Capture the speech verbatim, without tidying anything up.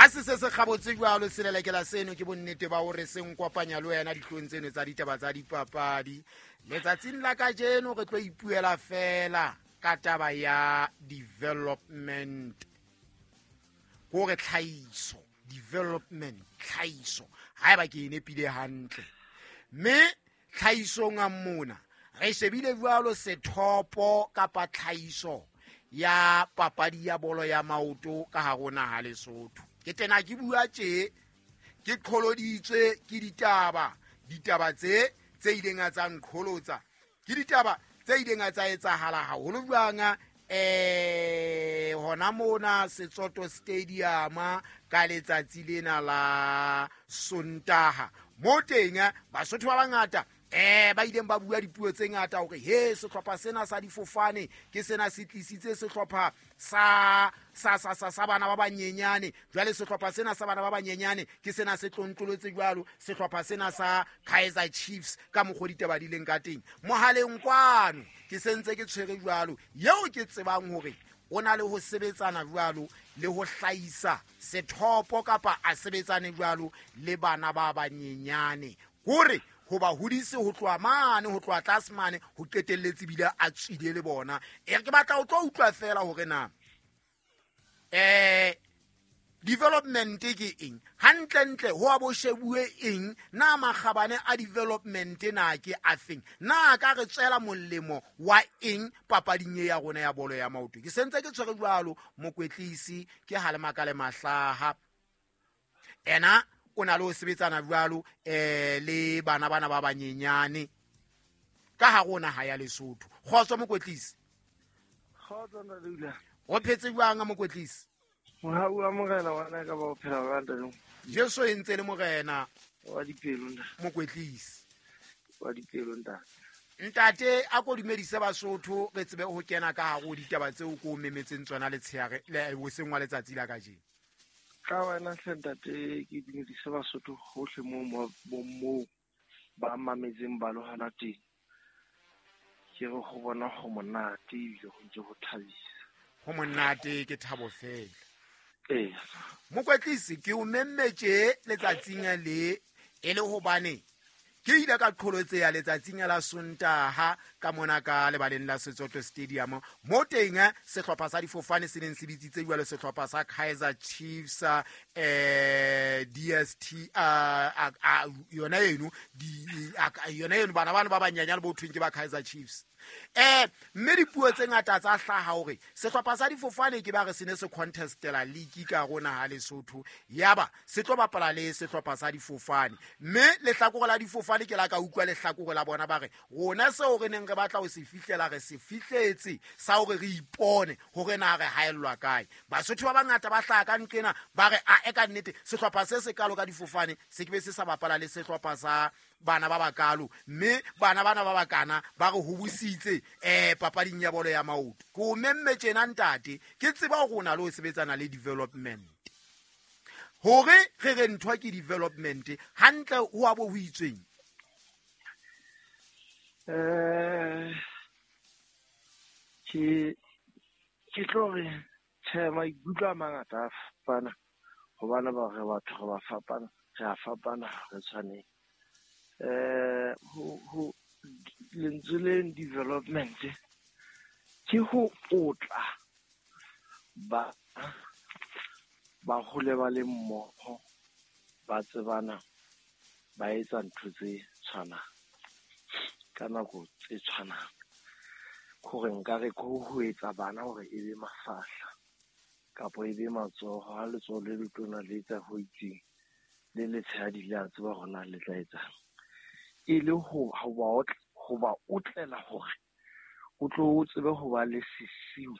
Ha se se se kgabotse jwalo selelekela seno ke bonnete ba hore se nkopanya le wena dihlong tseno tsa ditaba tsa dipapadi. Letsatsing la kajeno re tlo ipuela fela ka taba ya development. Hore tlhahiso, development, tlhahiso. Haeba ke e nepile hantle. Mme tlhahisong a mona re shebile jwalo sethopo kapa tlhahiso ya papadi ya bolo ya maoto ka hare ho naha Lesotho. Ke tena ke bua tje ke qholoditswe ke ditaba, ditaba tse tse ileng tsa nqholotsa. Ke ditaba tse ileng tsa etsahala haholo jwang eh hona mona Setsoto Stadium ka letsatsi lena la Sontaha. Mo teng Basotho ba bangata eh ba ileng ba bua dipuo tse ngata hore he sehlopha sena sa difofane ke sena se tlisitse sehlopha sa sa sa sa sa bana ba banyenyane. Jwale sehlopha sena sa bana ba banyenyane ke sena se tlontlolotse jwalo sehlopha sena sa Kaizer Chiefs ka mokgwa ditaba di leng ka teng. Mohaleng kwano ke sentse ke tshwere jwalo yeo ke tsebang hore o na le ho sebetsana jwalo le ho hlahisa sethopo kapa a sebetsane jwalo le bana ba banyenyane hore ho ba hodise ho tloha mane ho tloha tlase mane ho qetelletse bile a tswile le bona. E ke batla ho tlo utlwa fela hore na eh development ke eng hantlentle ho a bo shebuwe eng na makgabane a development na ke afeng na ka re tswela molemo wa eng papading ya rona ya bolo ya maoto. Ke sentse ke tshwere jwalo mokwetlisi ke Halemakale Mahlaha ena o na le ho sebetsana jwalo eh le bana bana ba banyenyane ka hare ho naha ya Lesotho. Kgotso mokwetlisi. Kgotso Ndadula. O phetse jwang mokwetlisi? Mohau wa morena wa nna ka ba o phela jwang ntate? Jesu e ntse le morena wa dipelo ntate. Mokwetlisi. Wa dipelo ntate. Ntate a ko dumedise Basotho re tsebe ho kena ka hare ho ditaba tseo ko memetseng tsona letsheare le hoseng wa letsatsi la kajeno. Ka wena hle ntate ke dumedise Basotho hohle moo moo ba mametseng ba lohana teng. Ke re ho bona ho monate ebile ho ntse ho thabisa. Ho monate ke thabo fela. Ee. Mokwetlisi ke o memmetse letsatsing le e le hobane ke ile ka qholotseya letsatsing la Sontaha ka mona ka lebaleng la Setsoto Stadium mo teng sehlopha sa difofane se neng se bitsitse jwalo sehlopha sa Kaizer Chiefs eh D S T a yona eno di yona eno bana bana ba banyanyane bo thweng ke ba Kaizer Chiefs. Eh mme dipuo tse ngata tsa hlaha hore sehlopha sa difofane ke ba re se ne se contestela league ka rona ha Lesotho yaba se tlo bapala le sehlopha sa difofane mme lehlakore la difofane ke la ka utlwa lehlakore la bona ba re rona seo re neng re batla ho se fihlela re se fihletse sa hore re ipone hore na re haellwa kae. Basotho ba bangata ba hlaha ka nqena ba re a e ka nnete sehlopha se se kalo ka difofane se ke be se sa bapala le sehlopha sa bana ba bakalo mme bana bana ba bakana ba re hobositse eh papading ya bolo ya maoto. Ke o memme tjena ntate ke tseba hore o na le ho sebetsana le development hore re re ntho ke development hantle ho a bo ho itsweng. Eh ke ke tlo re tjhe maikutlo a mangata a fapana hobane ba re batho re ba fapana re a fapana re tshwaneng. Eh ho ho lentswe le development ke ho otla ba ba hole ba le mmoho ba tsebana ba etsa ntho tse tshwanang ka nako tse tshwanang. Hore nka re ko ho etsa bana hore e be mafahla kapa e be matsoho ha letsoho le letona le etsa ho itseng le letshehadi le a tseba hore na le tla etsang. E le ho ba ho ba otlela hore o tlo o tsebe ho ba le sesiu